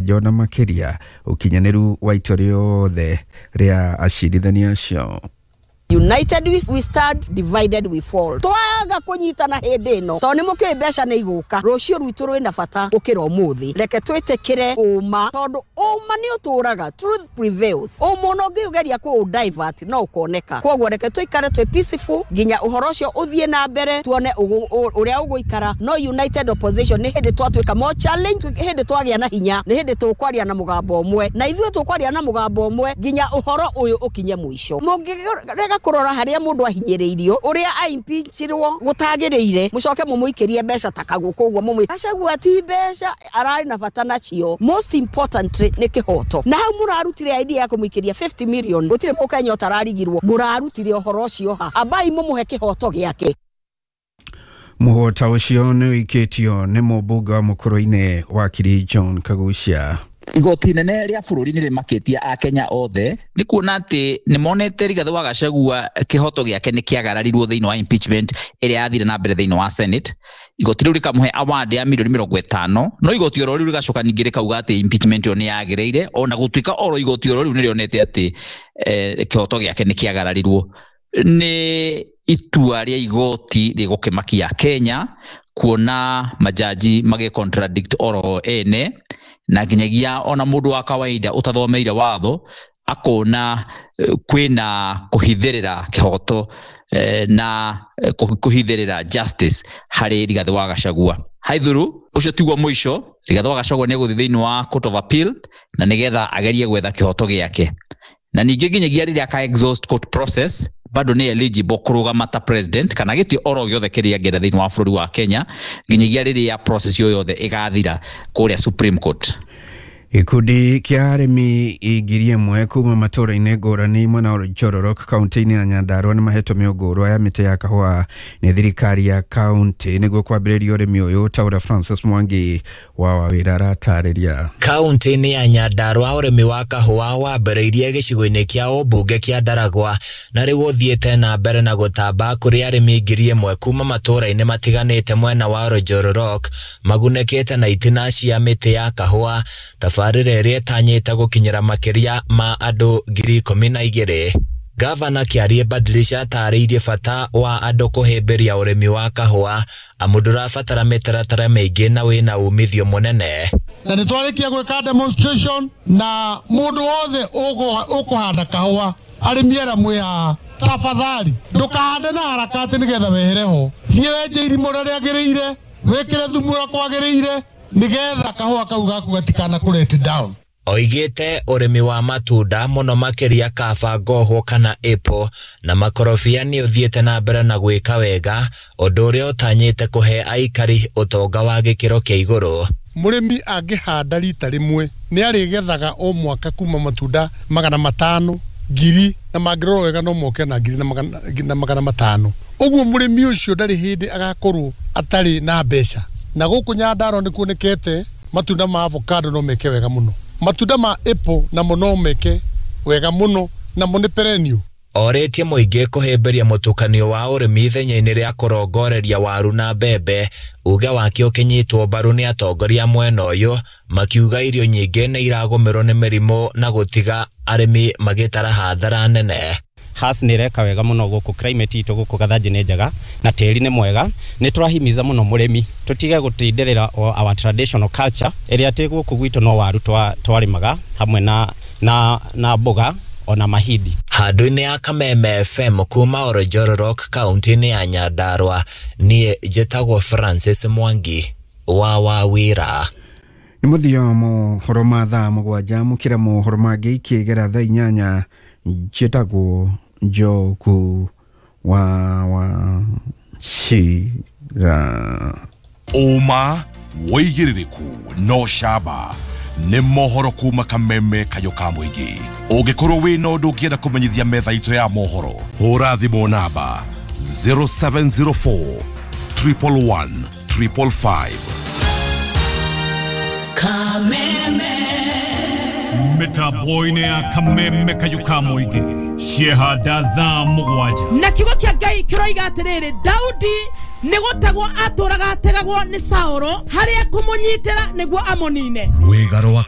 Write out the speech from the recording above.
Gũkĩkanja ona makĩria ũkinyanĩru wa itua rĩothe rĩa acirithania acio. United we stand, divided we fall. Twaga kunyitana hindi ino to ni mukiui mbeca ni iguka rucio rwitu rwina bata gukira umuthi. Reke twitikire uma tondu uma ni uturaga, truth prevails. Uma no ngiugeria ku divert no ukoneka. Koguo reke tuikare twi peaceful nginya uhoro ucio uthie na mbere tuone uria uguikara. No united opposition ni hindi twatuika more challenge, hindi twagia na hinya, ni hindi tukwaria na mugambo umwe, na ithuĩ tukwaria na mugambo umwe nginya uhoro uyu ukinye muico. Mungirega kurora haria mundu ahinyiriirio uria aimpeachirwo gutagiriire mucoke mumuikirie mbeca ta kaguku uguo mumwi Gachagua ti mbeca arari na bata nacio. Most importantly ni kihoto. Na hau murarutire idea ya kumuikiria 50 million gutire mukenya utararigirwo, murarutire uhoro ucio ha ambai mumuhe kihoto giake. Muhota ucio ni wikitio ni mũmbunge wa Mũkũrũ-inĩ wakiri John Kagucia. Igoti inene rĩa bũrũri nĩ rĩmakĩtie akenya othe nĩ kuona atĩ nĩ monete Rigathĩ wa Gachagua kĩhoto gĩake nĩ kĩagararirwo thĩinĩ wa impeachment ĩrĩa yathire na mbere thĩinĩ wa Senate. Igoti rĩu rĩkamũhe award ya milioni 50, no igoti oro rĩu rĩgacoka ningĩ rĩkauga atĩ impeachment ĩyo nĩ yagĩrĩire, ona gũtuĩka oro igoti oro rĩu nĩ rĩonete atĩ kĩhoto gĩake nĩ kĩagararirwo. Nĩ itua rĩa igoti rĩgũkĩmakia Kenya kuona majaji magĩ contradict oro ene, na nginyagia ona mundu wa kawaida utathomeire watho akona kwina kuhithirira kihoto na kuhithirira justice hari Rigathĩ wa Gachagua. Haithuru ucio tiguo muico, Rigathĩ wa Gachagua ni guthi thiini wa Court of Appeal na nigetha agerie gwetha kihoto giake, na ningi nginyagia riria aka exhaust court process bado ni eligible kurugama ta president kana giti oro giothe kiria angĩenda thiini wa bũrũri wa Kenya nginyagia riria process yo yothe igathira kuria Supreme Court. Gĩkundi kĩa arĩmi 1,000 kuma matũũra-inĩ ngũrani mwena wa Njororok kaunti-inĩ ya Nyandarua nĩ mahetwo mĩũngũrwa ya mĩtĩ ya kahũa nĩ thirikari ya kaunti nĩguo kwambĩrĩria ũrĩmi ũyũ, ta ũrĩa Francis Mwangi wa Wawĩra aratarĩria. Kaunti-inĩ ya Nyandarua ũrĩmi wa kahũa wambĩrĩirie gĩcigo-inĩ kĩa ũmbunge kĩa Ndaragwa na rĩu ũthiĩte na mbere na gũtamba kũrĩ arĩmi 1,000 kuma matũũra-inĩ matiganĩte mwena wa Njororok magunĩkĩte na itina cia mĩtĩ ya kahũa. Tabarĩra ĩrĩa ĩtanyĩte gũkinyĩra makĩria ma andũ 12,000. Gavana Kĩarie Badilisha atarĩirie bata wa andũ kũhĩmbĩria ũrĩmi wa kahũa amu ndũrabatara mĩtaratara mĩingĩ na wĩna umithio mũnene. Na nĩ twarĩkia gwĩka demonstration na mũndũ wothe ũkũhanda kahũa arĩmi arĩa mwĩ haha, tafadhali ndũkahande na haraka atĩ nĩgetha wehere ho, thiĩ wenje irima ũrĩa rĩagĩrĩire, wĩkĩre thumu ũrĩa kwagĩrĩire nigetha kahũa kau gaku gatikana kũ let down. Oigĩte ũrĩmi wa matunda mũno makĩria kaba, ngohwo kana apple na makorobia nĩ ũthiĩte na mbere na gwĩka wega, ũndũ ũrĩa ũtanyĩte kũhe aikari ũtonga wa gĩkĩro kĩa igũrũ. Mũrĩmi angĩhanda rita rĩmwe nĩ arĩgethaga o mwaka kuma matunda 500, 1,000 na mangĩrorwo wega no moke na 1,000 na 500. Ũguo mũrĩmi ũcio ndarĩ hĩndĩ agakorwo atarĩ na mbeca. Na gũkũ Nyandarua nĩ kuonekete matunda ma avocado no meke wega mũno, matunda ma apple namo no meke wega mũno, namo nĩ perennial. Orĩtie mũingĩ kũhĩmbĩria mũtukanio wa ũrĩmi ithenya-inĩ rĩa kũrongoreria waru na mbembe. Uge wake ũkĩnyitwo mbaru nĩ atongoria mwena ũyũ makiuga irio nyingĩ nĩ iragũmĩrwo nĩ mĩrimũ na gũtiga arĩmi magĩtara hathara nene. Has nĩ ĩreka wega mũno gũkũ, climate itũ gũkũ Gathanji nĩ njega na tĩri nĩ mwega. Nĩ tũrahimiza mũno mũrĩmi tũtige gũtindirĩra our traditional culture ĩrĩa atĩ gũkũ gwitũ no waru twarĩmaga hamwe na mboga ona mahindi. Handũ-inĩ ya Kameme FM kuma Oljororok kaunti-inĩ ya Nyandarua, niĩ njĩtagwo Francis Mwangi wa Wawĩra. Nĩ mũthia mohoro ma thaa 7, mũkĩra mohoro mangĩ ikĩgera thaa 8. Njĩtagwo Njogu wa Wachira. Ũma wĩigĩrĩrĩku no camba nĩ mohoro kuma Kameme kayũ ka mũingĩ. Ũngĩkorwo wĩna ũndũ ũngĩenda kũmenyithia metha itũ ya mohoro, hũra thimũ namba 0704 111 555. Kameme mĩtambo-inĩ ya Kameme kayũ ka mũingĩ ciehanda thaa 7. Na kiugo kĩa Ngai kĩroiga atĩrĩrĩ, Daudi nĩ gũtegwo atũraga ategagwo nĩ Saũlũ harĩa kũmũnyitĩra nĩguo amũnine. Rwĩga rwa